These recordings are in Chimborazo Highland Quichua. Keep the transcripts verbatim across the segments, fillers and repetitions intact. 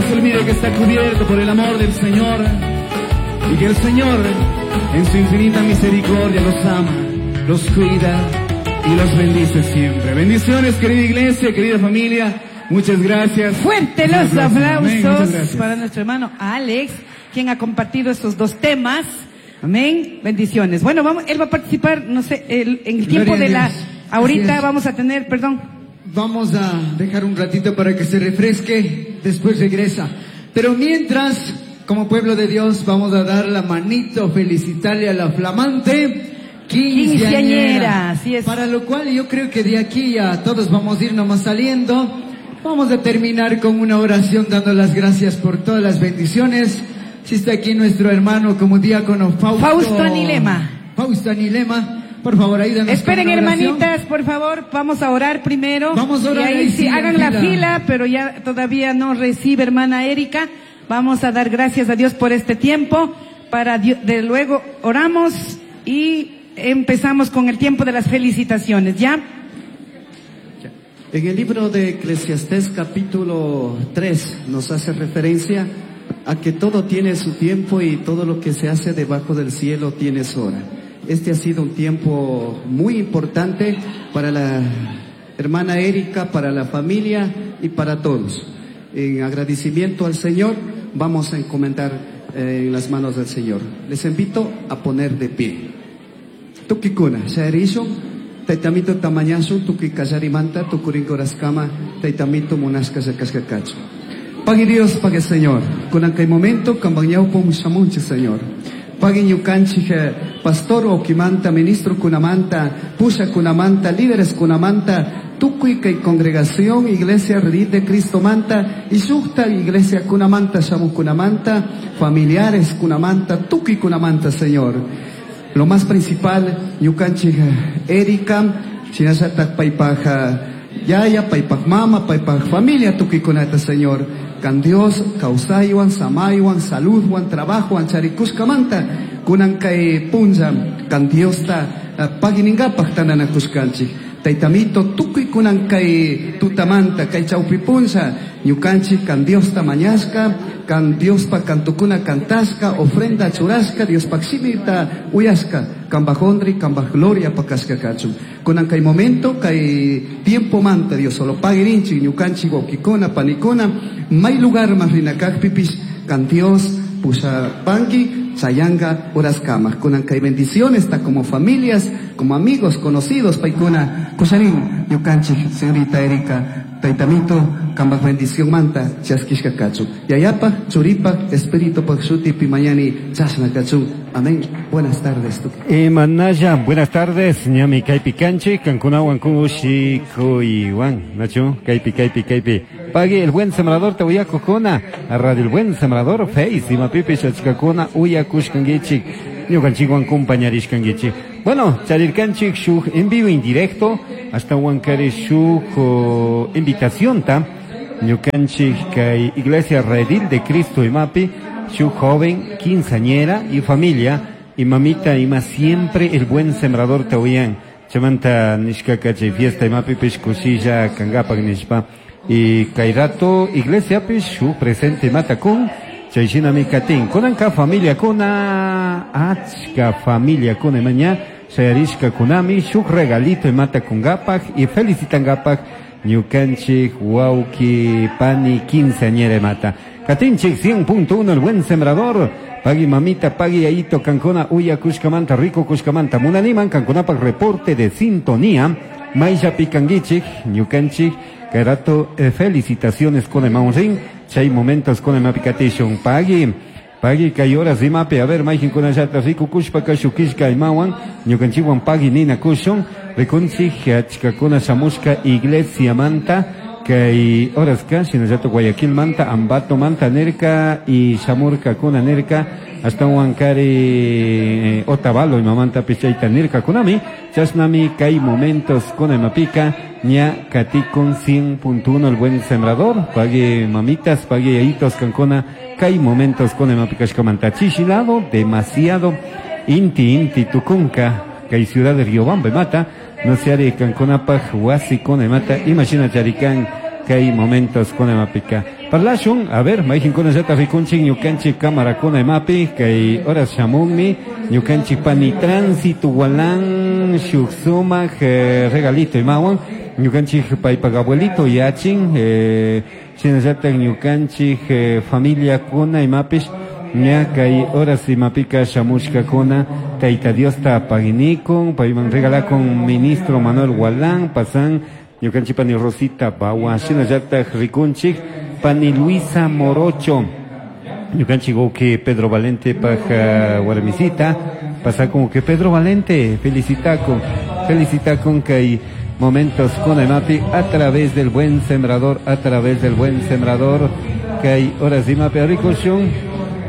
No se olvide que está cubierto por el amor del Señor y que el Señor en su infinita misericordia los ama, los cuida y los bendice siempre. Bendiciones, querida iglesia, querida familia. Muchas gracias. Fuerte los aplausos para nuestro hermano Alex, quien ha compartido estos dos temas. Amén. Bendiciones. Bueno, vamos, él va a participar, no sé, el, en el tiempo de la... Ahorita vamos a tener, perdón. Vamos a dejar un ratito para que se refresque, después regresa. Pero mientras, como pueblo de Dios, vamos a dar la manito, felicitarle a la flamante quinceañera. Quinceañera, así es. Para lo cual yo creo que de aquí ya todos vamos a ir nomás saliendo. Vamos a terminar con una oración dando las gracias por todas las bendiciones. Si está aquí nuestro hermano como diácono Fausto. Fausto Anilema. Fausto Anilema. Por favor, ayúdanos. Esperen, hermanitas, por favor, vamos a orar primero. Vamos a orar. Y ahí, ahí sí, sí, hagan la fila. fila, pero ya todavía no recibe hermana Erika. Vamos a dar gracias a Dios por este tiempo. Para Dios, de luego oramos y empezamos con el tiempo de las felicitaciones, ¿ya? En el libro de Eclesiastés capítulo tres nos hace referencia a que todo tiene su tiempo y todo lo que se hace debajo del cielo tiene su hora. Este ha sido un tiempo muy importante para la hermana Erika, para la familia y para todos. En agradecimiento al Señor, vamos a encomendar eh, en las manos del Señor. Les invito a poner de pie. Tukikuna, shayarisho, taitamito tamañasu, tuki kallarimanta, tukurinkoraskama, taitamito munashka sakashkakachu. Pague Dios, pague Señor. Kunan kay momento, kambañau shamunchi Señor. Pague ñukanchik pastor okimanta, ministro kunamanta, pusha kunamanta, líderes kunamanta, tukuy kay congregación, iglesia Redil de Cristo manta, y shukta iglesia kunamanta, shamu kunamanta, familiares kunamanta, tukuy kunamanta, Señor. Lo más principal, ñukanchik Erika, shinallatak paypaj yaya, paypaj mama, paypaj familia, tukuy kunata, Señor. Kan Dios, kawsaywan, samaywan, saludwan, trabajowan, charikushkamanta, kunan kay punlla, kan Diosta paginingapaj tananakushkanchik. Taytamito, tukuy kunan kay tutamanta, kay chawpi punlla, ñukanchik kan Diosta mañashka, kan Diospa kantukuna kantashka, ofrenda churashka, Diospaj shimita uyashka, kambaj honri, kambaj gloria pakashka kachun. Kunan kay momento, kay tiempo manta, Dios solo pagirinchik, ñukanchik wawkikuna, panikuna, may lugar mas rinakajpipis, kan Dios pushapanki, chayanga horaskama. Kunan kay bendiciones, está como familias, como amigos, conocidos, paikuna, kusharin, ñukanchik, señorita Erika, taytamito, kambaj bendición manta, chaskishka kachun. Yayapa, churipa, espíritu shuti, pimañani, chashna kachun. Amén. Buenas tardes. Emanaya, buenas tardes. Ñami kaypi kanchik, kankunawan kushikuywan. Nacho, kaypi, kaypi, kaypi. Pague el buen sembrador, te uyakukuna. A Radio El Buen Sembrador, Face, imapipi, chachkakuna, uyakushkankichik. Ñukanchikwan compañarishkankichik. Bueno, charirkanchik shuk en vivo en directo, hasta huancari shuk oh, invitación ta. Ñukanchik kay Iglesia Redil de Cristo imapi, shuk joven, quinceañera y familia, y mamita ima siempre el buen sembrador te oían. Chamanta nishkaka chay fiesta imapi pish kushilla kangapak nishpa. Y kay rato iglesia pish shuk presente imata kun, chay shinami katin. Kunanka familia kuna, achka familia kuna imaña, shayarishka kunami, shuk regalito imata kungapak y felicitangapak ñukanchik wawki pani quinceañera imata. Katinchik cien punto uno el buen sembrador. Pagui mamita, pagui ayito, kankuna, uya kushkamanta, rico kushkamanta. Munaniman, kankunapak reporte de sintonía. Maisha pikanguichik, ñukanchik, kay rato, eh, felicitaciones con el maunrin. Chay momentos con el mapicatishon. Pagui, pagui kay horas imapi, a ver, maijin kunallata rico kushpa kashukishka imawan, ñukanchikwan pagui nina kushon. Rikunchik, achkakuna shamushka iglesia manta, kay horas ka, shinallato Guayaquil manta, Ambato manta nerka y shamurka kuna nerka, hasta Huancari, eh, Otavalo y mamanta pichaita nerka kunami, chasnami kay momentos kuna mapika, ña katikun cien punto uno el buen sembrador, pague mamitas, pague yayitos kankuna, kay momentos kuna mapika shkamanta chishilado, demasiado, inti inti tukunka, kay ciudad de Riobamba mata, no se haré kankunapaj wasi kuna mata, imagina charikan, kay momentos kuna mapika. Parlashun, a ver, mayjinkuna llata rikunchik ñukanchik cámarakuna imapi, kay horas shamunmi, ñukanchik pani tránsito walan shuk sumak eh, regalito imawan, ñukanchik paypak abuelito yachin, eh, shinallatak ñukanchik eh, familia kuna imapish, ña kay horas imapika shamushkakuna, Tayta Diosta paginikun, payman regalakun ministro Manuel Gualán, pasan ñukanchik pani Rosita Bawa, shinallatak rikunchik, pani Luisa Morocho, ñukanchik que Pedro Valente paj warmisita, pasa como que Pedro Valente, felicitacon, felicitacon kay momentos con imapi a través del buen sembrador, a través del buen sembrador, kay horas imapi rikushun,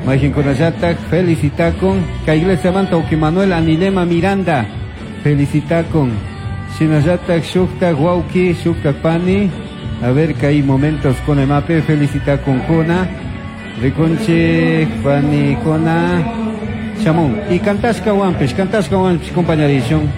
Majin kunallatak, felicitacon, kay iglesia manta uki Manuel Anilema Miranda, felicitacon, shinallatak shuktak wauki, shuktak pani, a ver que hay momentos con emape, felicita con Jona, rikunchik pani Jona, chamón, y cantashka wampis, cantashka wampis, compañerishon.